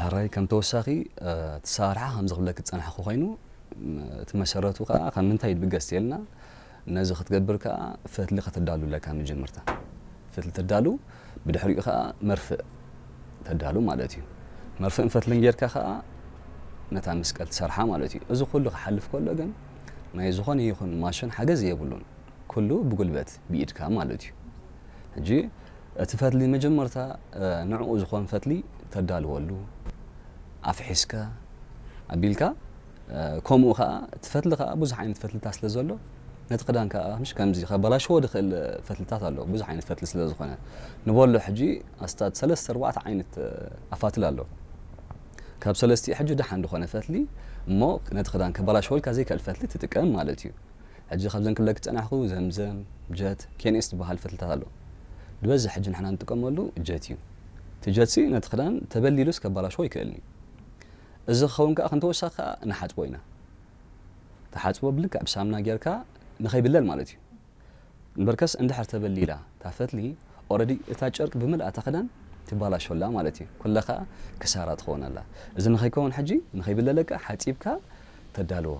ሕራይ ከም ተወሳኺ እቲ ኣሰራርሓ ከምዚ ክብለክ ዝጸናሕኩ ኮይኑ፣ እቲ መሰረቱ ከዓ ካብ ምንታይ ይብገስ ተልና፣ ነዚ ክትገብር ከዓ ፈትሊ ከተዳሉ ኣለካ። መጀመርታ ፈትሊ ተዳሉ፣ ብድሕሪኡ ከዓ መርፍእ ተዳሉ ማለት እዩ። መርፍእን ፈትልን ጌርካ ከዓ ነታ መስቀል ትሰርሓ ማለት እዩ። እዚ ኩሉ ክሓልፍ ከሎ ግን ናይ ዝኾነ ይኹን ማሽን ሓገዝ የብሉን። ኩሉ ብጉልበት ብኢድካ ማለት እዩ። ሕጂ እቲ ፈትሊ መጀመርታ ንዕኡ ዝኾን ፈትሊ ተዳልወሉ ኣፍሒስካ ኣቢልካ፣ ከምኡ ከዓ እቲ ፈትሊ ከዓ ብዙሕ ዓይነት ፈትልታት ስለ ዘሎ፣ ነቲ ክዳን ከዓ ምሽ ከምዚ ከባላሽዎ ዝኽእል ፈትልታት ኣሎ። ብዙሕ ዓይነት ፈትሊ ስለ ዝኾነ ንበሎ ሕጂ ኣስታት ሰለስተ ኣርባዕተ ዓይነት ኣፋትል ኣሎ። ካብ ሰለስቲኡ ሕጂ ደሓን ዝኾነ ፈትሊ እሞ ነቲ ክዳን ከባላሽወልካ ዘይክእል ፈትሊ ትጥቀም ማለት እዩ። ሕጂ ካብዘን ክብለክ ዝጸናሕኩ ዘምዘም፣ ጀት፣ ኬንኤስ ዝበሃል ፈትልታት ኣሎ። ዝበዝሕ ሕጂ ንሕና ንጥቀመሉ ጀት እዩ። እቲ ጀትሲ ነቲ ክዳን ተበሊሉስ ከባላሽዎ ይክእልኒ። እዚ ክኸውን ከዓ ክንተወሳኺ ከዓ ንሓጽቦ ኢና። ተሓጽቦ ብልክዕ ብሳምና ጌርካ ንኸይብለል ማለት እዩ። እምበርከስ እንድሕር ተበሊላ እታ ፈትሊ ኦረዲ እታ ጨርቂ ብምልኣታ ክዳን ትባላሾላ ማለት እዩ። ኩለኻ ክሳራ ትኸውን ኣላ። እዚ ንኸይከውን ሕጂ ንኸይብለለካ ሓጺብካ ተዳልዎ።